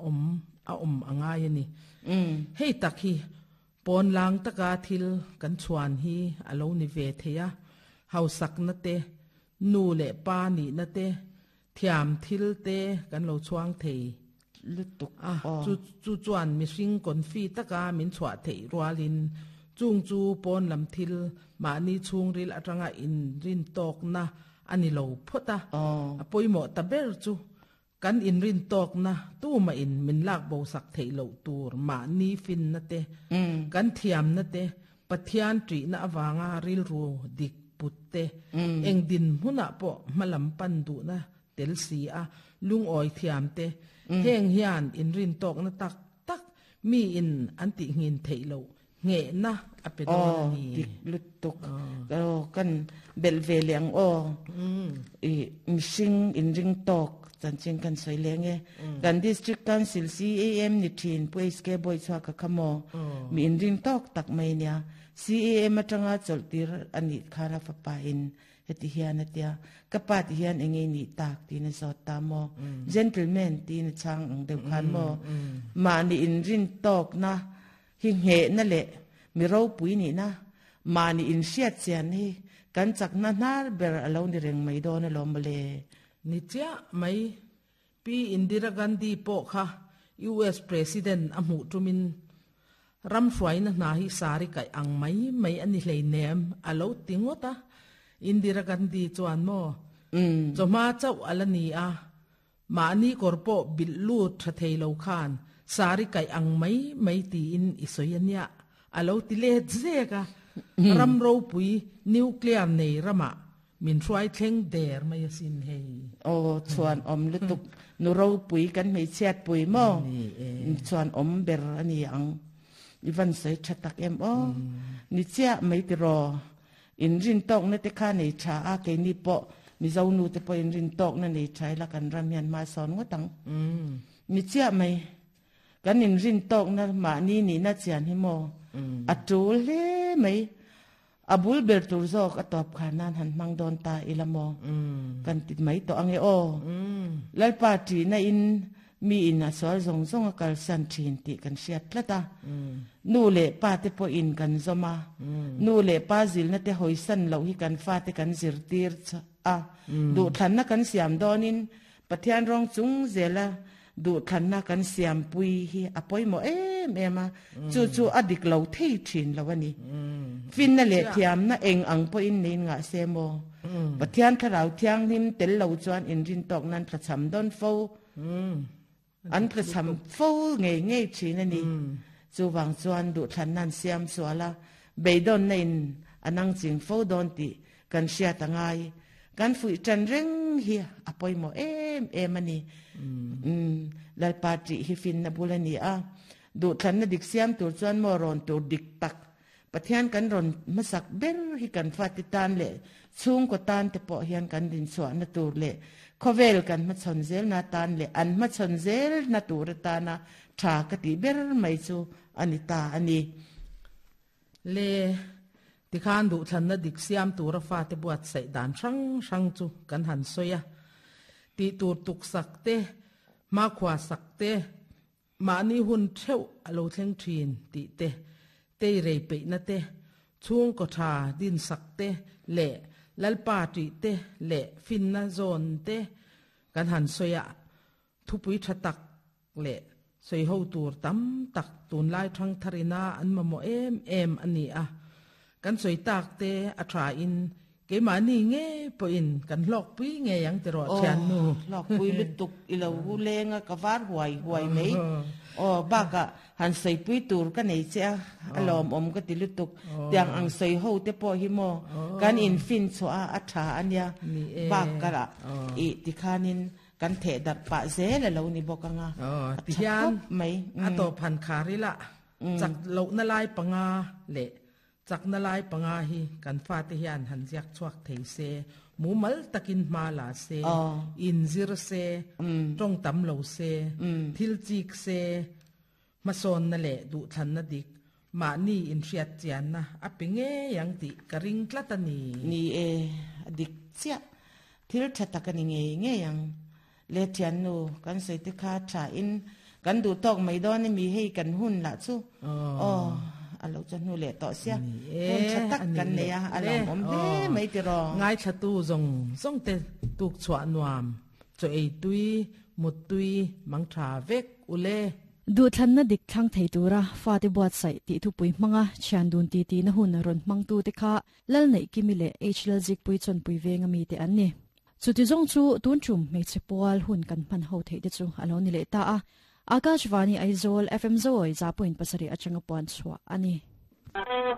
awm a awm a ngai a ni. Hei tak hi pawn lang taka thil kan chhuan hi a lo ni ve thei a, hausakna te, nu leh pa nihna te, thiam thil te kan lo chhuang thei lutuk a, chu chu chuan mihring confi taka min chhuah theih rualin chung chu pawn lam thil mahni chhungril atanga inrintawkna a ni lo phawt a, a pawimawh ta ber chu kan inrintawkna tumahin min lak bosak theih loh tur mahni finna te, kan thiamna te, Pathian ṭihna avanga rilru dik put te, eng dinhmunah pawh hmalam pan duhna tel si a, lungawi thiam te, heng hian inrintawkna tak tak mi in an tihngin theih loh nghehna a pe dawn a ni. Aw, dik lutuk. Aw, kan belh ve leh ang aw. I mihring inringtawk chanchin kan sawi leng e. Kan District Council CAM ni thin Pu HK Bawichhuaka kha maw? Mi inringtawk tak mai nia. CAM atanga chawlh tir a nih khan a fapa in Heti hian a tia, Ka pa ti hian eng nge nih tak? tiin a zawt ta maw? Gentleman tiin a chhang ang deuh khan maw? Mahni inrin tawkna hi nghehna leh mi ropui nihna, mahni inhriat chian hi kan chakna hnar ber a lo ni reng mai dawn alawm mawle. Ni chiah mai, Pi Indira Gandhi pawh kha US President a hmuh tumin ram hruaina hna hi sari kaih ang mai mai a ni hleinem a lo ti ngawt a. Indira Gandhi chuan maw, chawhma chauh a la ni a, mahni kawr pawh bilh lut tha thei lo khan sari kaih ang mai mai tiin i sawi a nia a lo ti let zek a. Ram ropui nuclear nei ramah Min hruai thleng der mai asin hei. Aw chuan awm lutuk nu ropui kan hmeichhiat pui maw chuan awm ber a ni ang. I van sawi tha tak em aw. Ni chiah mai tiraw. In rin tawkna te kha nei tha a keini pawh Mizo nu te pawh in rin tawkna nei tha ila kan ram hian hma sawn ngawt ang. Ni chiah mai. Kan in rin tawkna mahni nihna chian hi maw a tul hle mai. A bul ber tur zawk a tawp khar nan han hmang dawn ta ila maw? Kan ti mai tawh ange aw. Lalpa ṭihna in mi in a sual zawng zawng a kalsan ṭhin tih kan hriat tlat a. Nu leh pa te pawh in kan zawm a. Nu leh pa zilna te hawisan loh hi kan fate kan zirtir a. Duhthlanna kan siam dawnin Pathian rawng chung zela duhthlanna kan siampui hi a pawimawh em em a, chu chu a dik lo thei thin lo a ni. Finna leh thiamna eng ang pawhin nei ngah se maw? Pathian Thlarau Thianghlim tel lo chuan inrintawk nan tlachham dawn fo, an tlachham fo ngei ngei thin a ni. Chuvang chuan duhthlanna an siam sual a, beidawnna in a nangching fo dawn tih Kan hriat a ngai. Kan fuih ṭan reng hi a pawimawh em em a ni. Umm, Lalpa ṭih hi finna bul a ni a. Duhthlanna dik siam tur chuan maw rawn tur dik tak Pathian kan rawn hmasak ber hi kan fate tan leh chhungkaw tan te pawh hian kan dinchhuahna tur leh khawvel kan hmachhawn zelna tan leh an hmachhawn zelna tur atana ṭha ka tih ber mai chu a ni ta a ni. Le, tikhan duhthlanna dik siam tura fate buatsaih dan hrang hrang chu kan han sawi a. Tih tur tuksak te, hmakhua sak te, mahni hun theuh a lo thleng thin tih te, tei rei peihna te, chhungkaw tha dinsak te leh Lalpa ṭih te leh finna zawn te kan han sawi a. Thupui tha tak leh sawiho tur tam tak tunlai thangtharina an mamawh em em a ni a. Kan sawi tak te a tha in keimahni ngei pawhin kan hlawkpui ngei ang tiraw thiannu. Aw, hlawkpui lutuk i lo hu leng a, ka var huai huai mai. Aw, bakah han sawipui tur ka nei che a, a lawmawm ka ti lutuk. Tiang ang sawiho te pawh hi maw kan infin chhuah a, a tha a nia. Bakah i tikhanin Kan theh darh pah zel a lo ni bawk ang a, a tha khawp mai. A tawp han khar ila, chak lohna lai panga leh chakna lai panga hi kan fate hian han ziak chhuak thei se, mumal takin hma la se, inzir se, tawng tam lo se, thil chik se, hmasawnna leh duhthlanna dik, mahni inhriat chianna a pe ngei ang tih ka ring tlat a ni. Ni e, a dik chiah. Thil tha tak a ni ngei ngei ang. Le thiannu, kan sawi te kha tha in Kan duh tawk mai dawn emi hei kan hun lah chu aw a lo chawhnu leh tawh sia hun tha tak kan nei a a lawmawm hle mai tiraw. Ngaithlatu zawng zawng te tuk chhuah nuam chaw ei tui mut tui mang tha vek ule. Duhthlanna dik thlang thei tura fate buatsaih tih thupui hmanga thian dun titi na hun rawn hmangtute kha Lalneihkimi leh H Lalzikpui chawnpui venga mite an ni. Chuti zawng chu tun tum hmeichhe pual hun kan hman ho theih te chu a lo ni leh ta a. Akashvani Aizawl FM Zawi 100.7 atanga puan chhuah a ni.